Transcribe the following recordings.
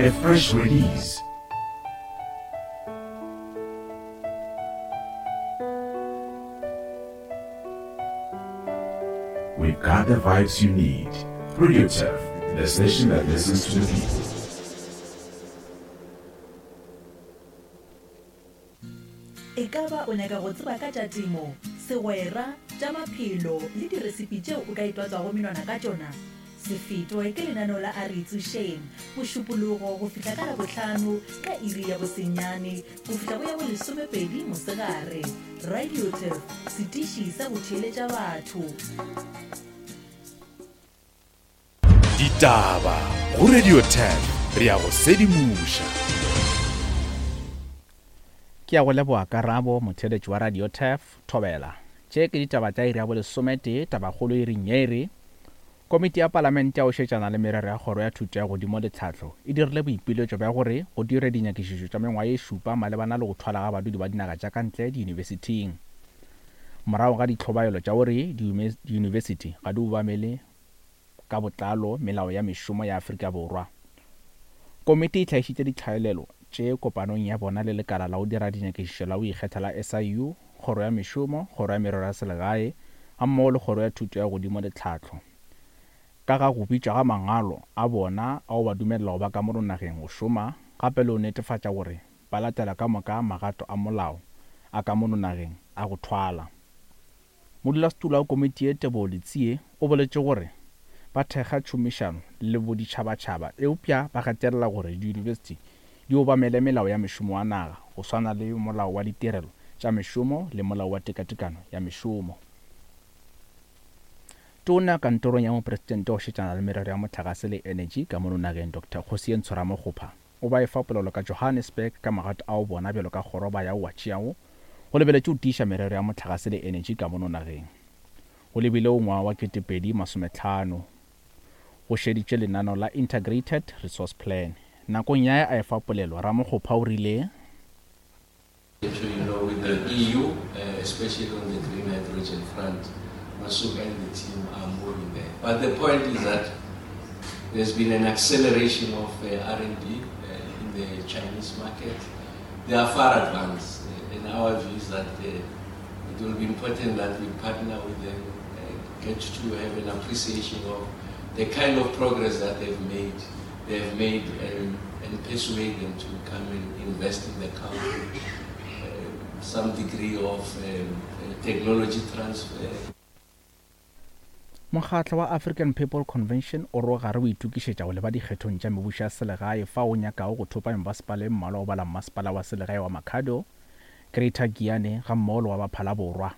A fresh release. We've got the vibes you need. Radio Turf, the station that listens to the people. Ekaba o nyaka go tseba ka tša temo, segwera, tša maphelo le diresipi tšeo o ka itwatswago menwana ka tšona? Se fetwe ke lenaneo la A Re Itsošeng, Mošupologo go fihla ka Labohlano ka iri ya bosenyane go fihla go ya bolesomepedi mosegare. Radio Turf, setiši sa go theeletša batho. Ditaba go Radio 10 re ya go sedimoša. Ke ya go leboga karabo motheeletši wa Radio Turf, Thobela. Tše ke ditaba tša iri ya bolesometee, tabakgolo iring ye e re, Komiti ya Palamente ya go šetšana le merero ya Kgoro ya Thuto ya Godimo le Tlhahlo e dirile boipiletšo bja gore go dirwe dinyakišišo tša mengwaga ye šupa malebana le go thwala ga badudi ba dinaga tša ka ntle diyunibesithing morago ga ditlhobaelo tša gore diyunibesithi ga di obamele ka botlalo melao ya mešomo ya Afrika Borwa. Komiti e hlagišitše ditlhaelelo tše kopanong ya bona le lekala la go dira dinyakišišo la go ikgetha la SIU, Kgoro ya Mešomo, Kgoro ya Merero ya Selegae gammogo le Kgoro ya Thuto ya Godimo le Tlhahlo ka ga go bitšwa ga mangwalo a bona a go ba dumelela go ba ka mono nageng go šoma gape le go netefatša gore ba latela ka moka magato a molao a ka mono nageng a go thwala. Modulasetulo wa komiti ye Teboho Letsie o boletše gore ba thekga tšhomišano le boditšhabatšhaba eupša ba gatelela gore diyunibesithi di obamele melao ya mešomo wa naga go swana le Molao wa Ditirelo tša Mešomo le Molao wa Tekatekano ya Mešomo. Tona kantorong ya Mopresidente go šetšana le merero ya mohlagase le enetši ka mono nageng Doctor Kgosientsho Ramokgopa o ba efa polelo ka Johannesburg ka magato ao bona bjalo ka kgoro ba yago wa tšeago go lebeletše go tiiša merero ya mohlagase le enetši ka mono nageng. Go lebile go ngwaga wa 2050 go šeditšwe lenaneo la Integrated Resource Plan. Nakong ya a efa polelo, Ramokgopa o rile. So you know, with the EU, uh, especially on the green hydrogen front, Masuka and the team are moving there. But the point is that there's been an acceleration of uh, R&D uh, in the Chinese market. They are far advanced. Uh, and our view is that uh, it will be important that we partner with them, uh, get to have an appreciation of the kind of progress that they've made, they've made and, and persuade them to come and invest in the country. Uh, some degree of um, technology transfer. Mokgatlo wa African People Convention o re o gare o itokišetša go leba dikgethong tša mebušo ya selegae fao o nyakago go thopa mebasepala e mmalwa go bala mmasepala wa selegae wa Makhado, Greater Giyani gammogo le wa Baphala Borwa.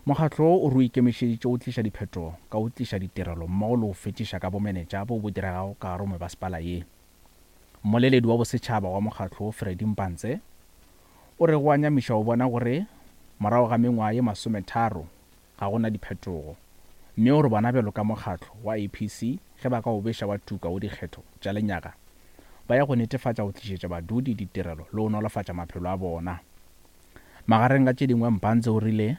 Mokgatlo wo o re o ikemišeditše go tliša diphetogo ka go tliša ditirelo mmogo le go fetiša ka bomenetša boo bo diregago ka gare go mebasepala ye. Mmoleledi wa bosetšhaba wa mokgatlo wo Freddy Mpantse o re go a nyamiša go bona gore morago ga mengwaga ye masometharo ga go na diphetogo mme o re bona bjalo ka mokgatlo wa APC ge ba ka o beša wa tuka go dikgetho tša lenyaga ba ya go netefatša go tlišetša badudi ditirelo le go nolofatša maphelo a bona. Magareng ga tše dingwe Mpantse o rile.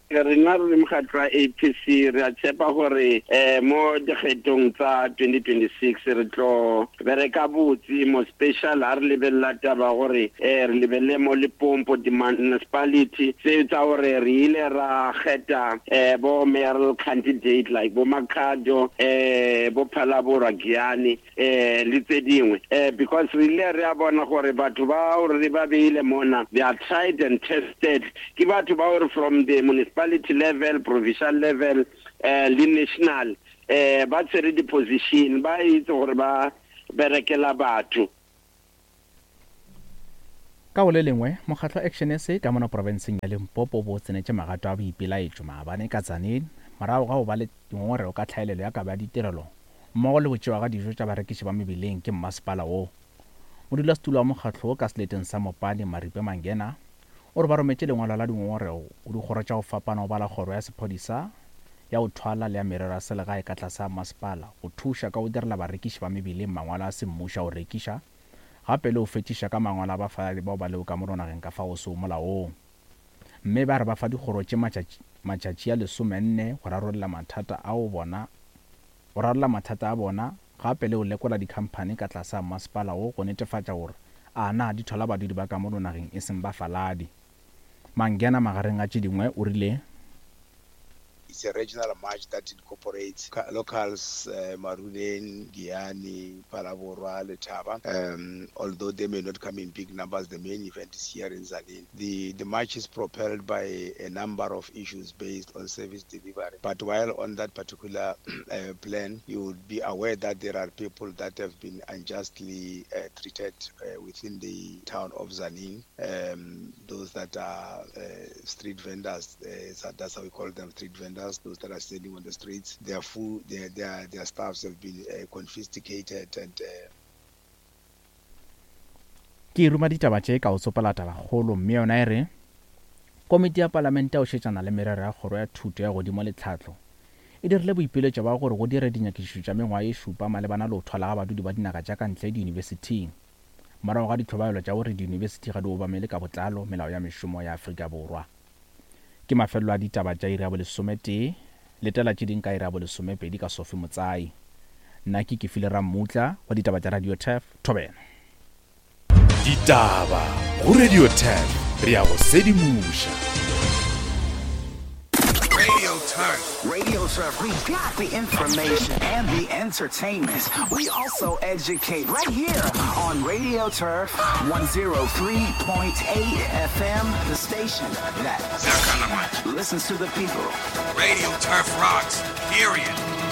Rena re le mokgatlo wa APC re a tshepa gore um mo dikgethong tsa 2026 re tlo bereka botse mo special ha re lebelela taba gore um re lebelele mo Limpopo di-municipality tse tsa gore re ile ra kgetha um bo mayoral candidate like bo Makhado um bo Phalaborwa Giyani eh le tse dingwe eh because re ile re a bona gore batho ba gore re ba beile mona they are tried and tested ke batho ba gore from the municipality level provincial level eh le national eh ba tshwere di-position ba itse gore ba berekela batho. Ka go le lengwe, mokgatlo wa Action SA ka mono profenseng ya Limpopo o bo o tsenetše magato a boipelaetšo maabane ka Tzaneen morago ga go ba le dingongorego ka tlhaelelo ya kabo ya ditirelo mmogo le go tšewa ga dijo tša barekiši ba mebileng ke mmasepala wo. Modulasetulo wa mokgatlo wo ka seleteng sa Mopani, Maripe Mangena, o re ba rometše lengwalo la dingongorego go dikgoro tša go fapana go bala kgoro ya sephodisa, ya go thwala le ya merero ya selegae ka tlase ga mmasepala go thuša ka go direla barekiši ba mebileng mangwalo a semmušo a go rekiša gape le go fetiša ka mangwalo a bafaladi bao ba lego ka mono nageng ka fao go sego molaong. Mme ba re ba fa dikgoro tše matšatši matšatši a lesomenne go rarolla mathata ao bona go rarolla mathata a bona. gape le go lekola dikhamphani ka tlase ga masepala wo go netefatša gore a na di thwala badudi ba ka mono nageng e seng bafaladi. Mangena magareng a tše dingwe o rile. It's a regional march that incorporates locals, Maruleng, Giyani, Phalaborwa, Letaba. Although they may not come in big numbers, the main event is here in Tzaneen. The, the march is propelled by a number of issues based on service delivery. But while on that particular plan, you would be aware that there are people that have been unjustly treated within the town of Tzaneen. Um, those that are street vendors, that's how we call them, street vendors, those that are standing on the streets, their food, their, their, their staffs have been confiscated and Ke ruma ditaba tše ka go tsopola tabakgolo mme yona e re Komiti ya Palamente ya go šetšana le merero ya Kgoro ya Thuto ya Godimo le Tlhahlo e dirile boipiletšo bja gore go dire dinyakišišo tša mengwaga ye šupa malebana le go thwala ga badudi ba dinaga tša ka ntle diyunibesithing morago ga ditlhobaelo tša gore diyunibesithi ga di obamele ka botlalo melao ya mešomo ya Afrika Borwa. Ke mafelelo a ditaba tša iri ya bolesometee. Letela tše ding ka iri ya bolesomepedi ka Sophie Motsai. Nna ke Kefile Rammutla wa ditaba tša Radio Turf, Thobela. Ditaba go Radio Turf, re a go sedimoša. Radio Turf. Radio Turf, we got the information and the entertainment. We also educate right here on Radio Turf 103.8 FM, the station that listens to the people. Radio Turf rocks, period.